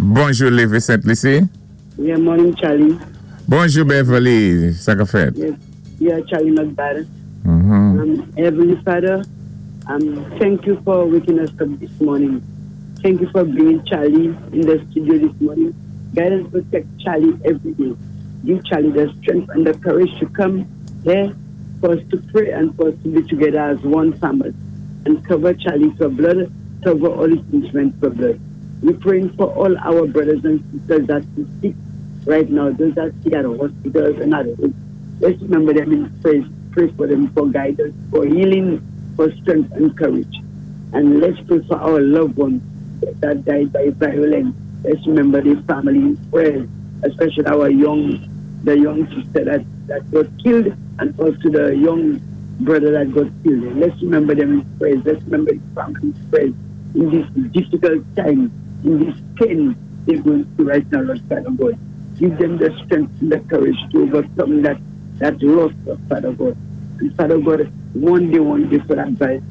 Bonjou, Lévé Sent Lisi. Yeah, morning, Charlie. Bonjou, Beverly. Sa ka fèt? Yes. Yeah, Charlie, not bad. Heavenly Father, thank you for waking us up this morning. Thank you for bringing Charlie in the studio this morning. Guide and protect Charlie every day. Give Charlie the strength and the courage to come here for us to pray and for us to be together as one family. And cover Charlie for blood, cover all his instruments for blood. We're praying for all our brothers and sisters that are sick right now, those that sick at hospitals and at home. Let's remember them in prayer. Pray for them for guidance, for healing, for strength and courage. And let's pray for our loved ones that died by violence. Let's remember their family in prayers, especially our young, the young sister that got killed, and also the young brother that got killed. Let's remember them in prayers. Let's remember the family in prayers in this difficult time, in this pain they're going through right now, Lord Father God. Give them the strength and the courage to overcome that loss of Father God. And Father God, one day for that violence,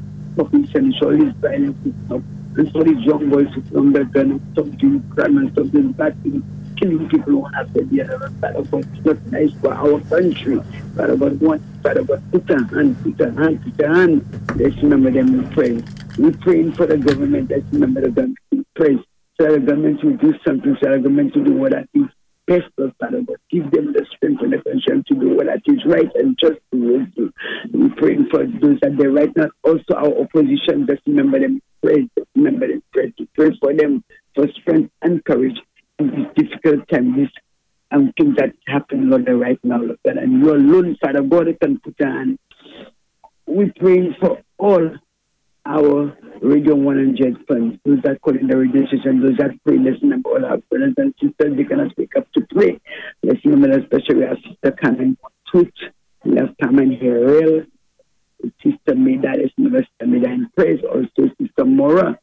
finish all this violence to stop. And for these young boys to put on the gun and stop doing crime and stop doing bad things, killing people one after the other. Father God, it's not nice for our country. Father God, one, Father God, put a hand, put a hand, put a hand. Let's remember them in prayer. We're praying for the government. Let's remember the government in prayer. So the government will do something, so the government will do what that is best for Father God. Give them the strength and the conscience to do what that is right and just towards you. We're praying for those that they're right now. Also our opposition, just remember them, pray, remember them, pray, to pray for them for strength and courage in this difficult time, this thing that happened, Lord, right now, Lord God. And you alone, Father God, can put a hand. We're praying for all our Radio 100 fans, those that call in the radio station, those that pray. Let's remember all our brothers and sisters, they cannot wake up to pray. Let's remember especially our sister Carmen Tooth, we have Carmen Harrell, Sister Maida, let's remember Sister Maida in praise, also Sister Mora,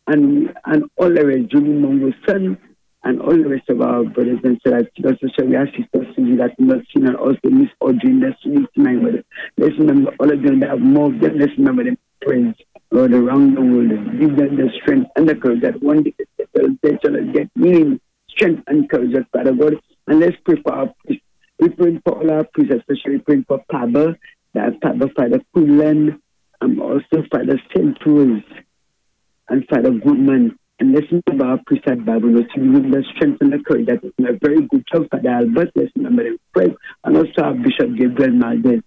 and all the rest, Julie Mongo's son, and all the rest of our brothers and sisters. Also, we have Sister Susie that not seen, and also Miss Audrey in the street tonight. Let's remember all of them that have more of them. Let's remember them. Praise, Lord, around the world. Give them the strength and the courage that one day they shall get healing, strength and courage, Father God. And let's pray for our priests. We pray for all our priests, especially praying for Paba, that Paba, Father Kulan, and also Father St. Rose and Father Goodman. And let's remember our priest at Babylon to give them the strength and the courage. That is a very good job, Father Albert. Let's remember them. Pray. And also our Bishop Gabriel Malden.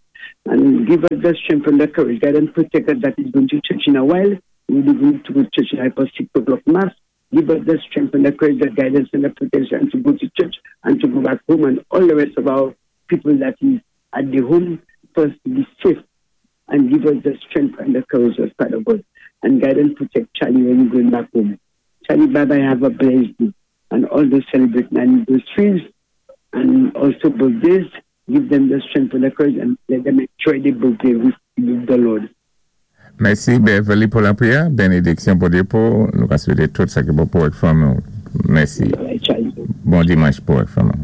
And give us the strength and the courage. Guide and protect us that is going to church in a while. We'll be going to go to church at 6 o'clock mass. Give us the strength and the courage, the guidance and the protection to go to church and to go back home, and all the rest of our people that is at the home first to be safe, and give us the strength and the courage of Father God. And guide and protect Charlie when he's going back home. Charlie, bye bye, have a blessed day. And all those celebrating anniversaries and also birthdays, give them the strength and the courage and let them enjoy the birthday with the Lord. Mèsi Beverly pou lapriyè. Benediksyon pou depo. Nou ka swété tout sa ki bon pou ak fanmi. Mèsi. Bon dimanch pou ak fanmi.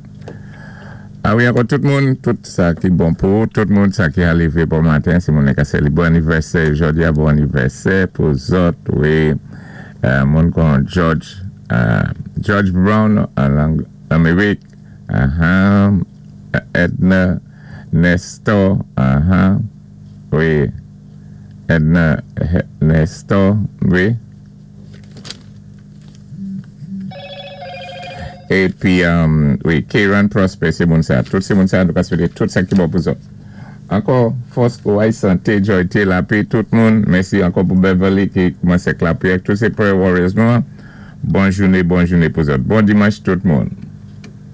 A wi, ankò tout moun, tout sa ki bon pou, tout moun sa ki arivé bon maten, si moun ka sélébwé bon anivèsè jòdi a, bon anivèsè pou zòt, wi, moun kon George Brown an Amerik, Edna Nestor, wi, Edna Nestor, wi. Épi, wi, Kieran Prosper, sé moun sa. Tout sé moun sa, nou ka swété tout sa ki bon pou zòt. Ankò, fòs, kouway, santé, joyté, lapè, tout moun. Mèsi ankò pou Beverly ki koumansé ak lapriyè. Tout sé prayer warriors nou. Bon jouné, bon jouné pou zòt. Bon dimanch tout moun.